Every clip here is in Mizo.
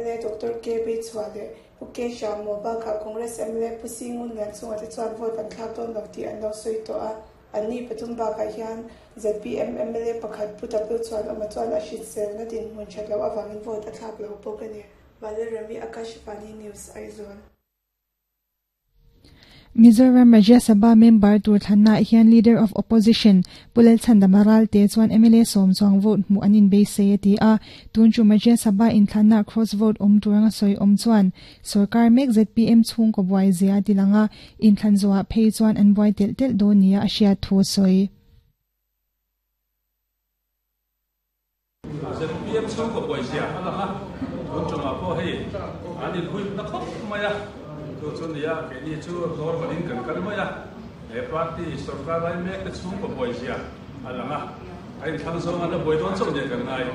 mla Doctor KB Chhuah leh Pu K Hriammaw bakah Congress mla Pu Si Ngun Lianchunga te chuan vote an thlak dawn lo tih an lo sawi tawh a. Anni pathum bakah hian zpm mla pakhat Pu W Chhuanawma chuan a hriselna dinhmun that loh avangin vote a thlak lo bawk a ni. Valerami Akashvani News, Aizawl. Mizoram Rajya Sabha member tur thlannaah hian Leader of Opposition Pu Lalchhandama Ralte chuan mla sawm chuang vote hmuh an inbeisei a ti a. Tun chu Rajya Sabha inthlannaah cross vote awm tur anga sawi awm chuan sorkar mek zpm chhungkaw buai zia a ti lang a, inthlan zawhah phei chuan an buai telh telh dawn nia a hriat thu a sawi. Zpm chhungkaw buai zia a lang a, tun tumah pawh hei an inhuipna khawp mai a, chu chu nia keini chu normal in kan kal mai a, he party sorkar lai mek te chhungkaw buai zia a lang a, a inthlang zawng an la buai dawn chauh nia kan ngai.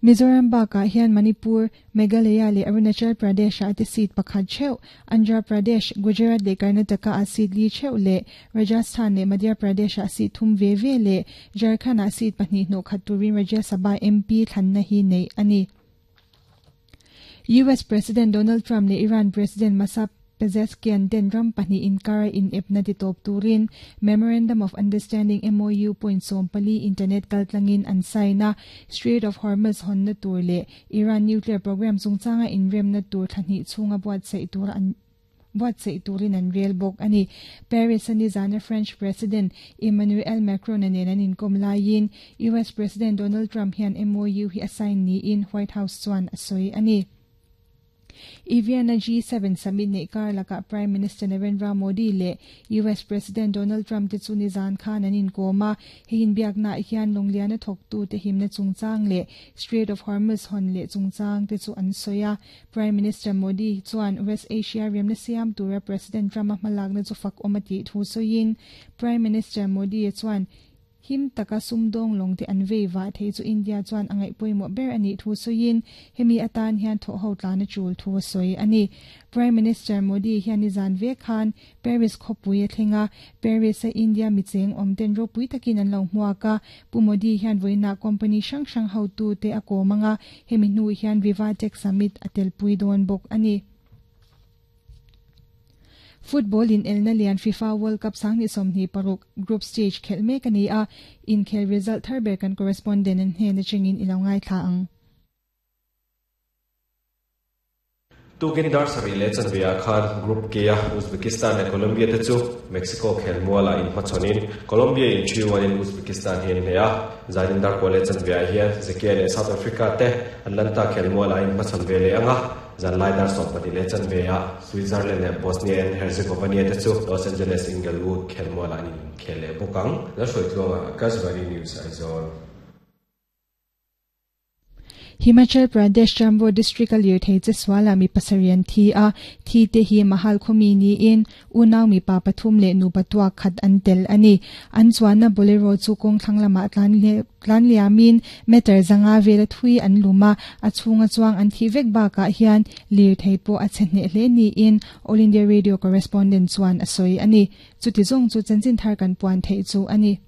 Mizoram bakah hian Manipur, Meghalaya leh Arunachal Pradesh-ah te seat pakhat theuh, Andhra Pradesh, Gujarat leh Karnataka-ah seat li theuh leh Rajasthan leh Madhya Pradesh-ah seat thum ve ve leh Jharkhand-ah seat pahnih hnawh khat turin Rajya Sabha MP thlanna hi neih a ni. US President Donald Trump leh Iran President Masoud Pezeshkian ten ram pahnih inkara inepna ti tawp turin Memorandum of Understanding, MOU, point 14 internet kaltlangin an sign a, Strait of Hormuz hawnna tur leh Iran nuclear program chungchanga inremna tur thla hnih chhunga buatsaih tura an buatsaih turin an rel bawk a ni. Paris-a nizana French President Emmanuel Macron-a nen an inkawm laiin US President Donald Trump hian MOU hi a sign niin White House chuan a sawi a ni. Evian-a G7 summit neih kar lakah Prime Minister Narendra Modi leh US President Donald Trump te chu nizan khan an inkawm a. Hei inbiaknaah hian lawngliana thawktute himna chungchang leh Strait of Hormuz hawn leh chungchang te chu an sawi a. Prime Minister Modi chuan West Asia remna siam tura President Trump-a hmalakna chu fak awm a tih thu sawiin Prime Minister Modi chuan Him taka sumdawng lawng te an vei vah thei chu India chuan a ngaih pawimawh ber a nih thu sawiin hemi atan hian thawhho tlan a tul thu a sawi a ni. Prime Minister Modi hian nizan ve khan Paris khawpui a thleng a, Paris-a India micheng awm ten ropui takin an lo hmuak a, Pu Modi hian vawiinah company hrang hrang hotute a kawm ang a, hemi hnu hian Viva Tech Summit a telpui dawn bawk a ni. Football inelna lian FIFA World Cup 2026 group stage khelh mek a ni a, inkhel result thar ber kan correspondent an hnen atangin i lo ngaithla ang. Tukin dar sarih leh chanve ah khan Group K-a Uzbekistan leh Colombia te chu Mexico khelmualah inhmachhawnin Colombia in 3-1 in Uzbekistan hi an hneh a. Zanin dar kua leh chanve ah hian Czechia leh South Africa te Atlanta khelmualah inhmachhawn ve leh ang a. Zanlai dar 12 leh chanve ah Switzerland leh Bosnia and Herzegovina te chu Los Angeles Inglewood khelmualah an inkhel leh bawk ang. Lalhruaitluanga, Akashvani News, Aizawl. Himachal Pradesh Jambo District-a lirthei che sualah mi pasarih an thi a, thi te hi Mahal khawmi niin unau mipa pathum leh nupa tuak khat an tel a ni. An chuanna Bolero chu kawng thlang lamah tlan tlan liamin meter zanga vela thui an lum a, a chhunga chuang an thih vek bakah hian lirthei pawh a chhe hneh hle niin All India Radio correspondent chuan a sawi a ni. Chuti zawng chu chanchin thar kan puan theih chu a ni.